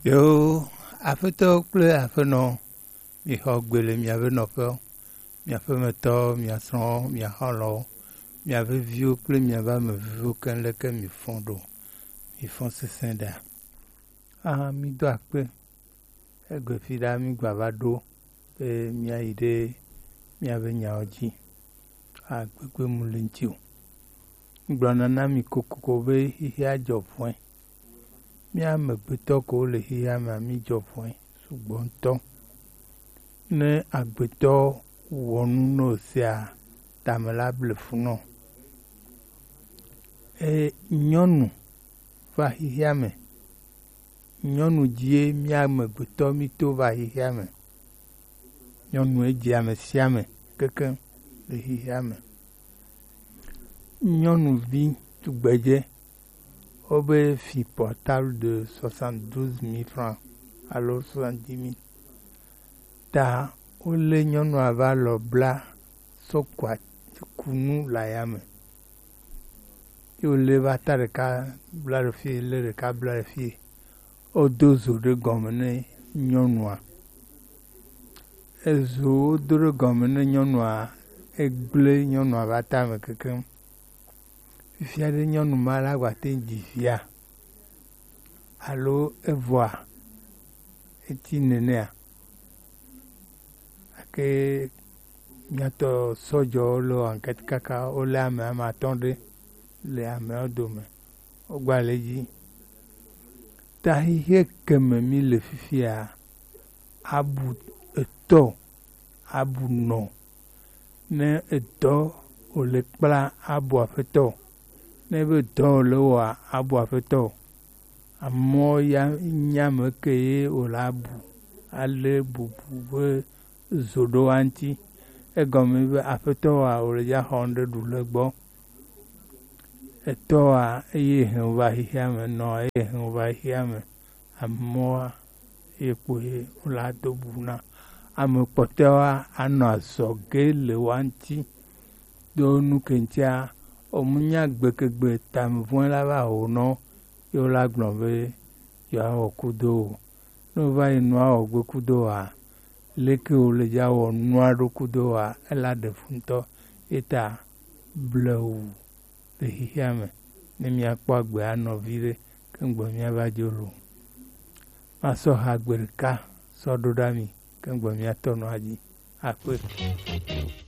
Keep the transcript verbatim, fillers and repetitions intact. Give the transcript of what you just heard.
Yo, aƒetɔ kple aƒenɔ, mixɔ gbe le miaƒe nɔƒewo, miaƒe metɔwo, mia srɔ̃wo, mia xɔlɔ̃wo, miaƒe viwo kple miaƒe ame viviwo keŋ leke mifɔ ɖo. Mifɔ sesẽ ɖa. Ah, mido akpe. Egbe fi ɖa mi gba va ɖo be miayi ɖe miaƒe nyawo dzi. Agbegbe mu le ŋuti o. Gblɔna na mi kokoko be xixia dzɔ ʋɔe. Mía amegbetɔ ko le xixia mea, mi dzɔ ʋɔe sugbɔ ŋutɔ. Ne agbetɔ wɔ nu ne wòsea, tame la ble fu nɔ. E, nyɔnu va xixia me. Nyɔnu dzie mía amegbetɔ mi to va xixia me. Nyɔnue dze ame sia ame kekeŋ le xixia me. Nyɔnuvi tugbedze, wobe fi portable de soixante-douze mille francs alo soixante-dix mille. Ta wolé nyɔnua va lɔ bla sɔkua kunu le ayame. Ye wolé va ta ɖeka bla ɖe fie, lé ɖeka bla ɖe fie. Wodo zo ɖe gɔme ne nyɔnua. Ezo wodo ɖe gɔme ne nyɔnua, egblẽ nyɔnua va tame kekeŋ. Fifia ɖe nyɔnu ma la gba te ŋu dzi via? Alo evɔa? Eti nenea? Gake míatɔ sɔdzɔwo le enquête kaka, wolé ame, ame atɔ̃ ɖe le ameawo dome. Wogba le edzi. Ta xixia ke me mí le fifia, abu etɔ, abu nɔ. Ne edɔ wòle kpla, abu aƒetɔ. Ne ebe dɔ wòle wɔa, abu aƒetɔ. Amewo ya nya ame ke ye wòle abu, alé bubu be zo ɖo wa ŋuti. Egɔme be aƒetɔwoa, wòle dza xɔ ŋɖe ɖu le gbɔ. Etɔwoa, eye hɛn va xixia me, nɔ eye hɛn va xixia me. Amewoa, ye kpoe wòle ado bu na. Ame kpɔtɔewoa, anɔ azɔge le wa ŋuti. Do nu ke ŋutia, omunya gbekegbe tamevɔ̃e la va ho nɔ, ye wola gblɔ be yewoawɔ kudo o. Ne wova yi nua wɔ gbe kudo oa, leke wòle dza wɔ nua ɖo kudo oa, ela ɖe fu ŋutɔ. Ye ta blewu le xixia me, ne míakpɔ agbe anɔ viɖe, ke ŋgbe míava dzo lo. Masɔ ha gbe ɖeka sɔ ɖo ɖa mi, ke ŋgbe míatɔ nɔ adzi. Akpe.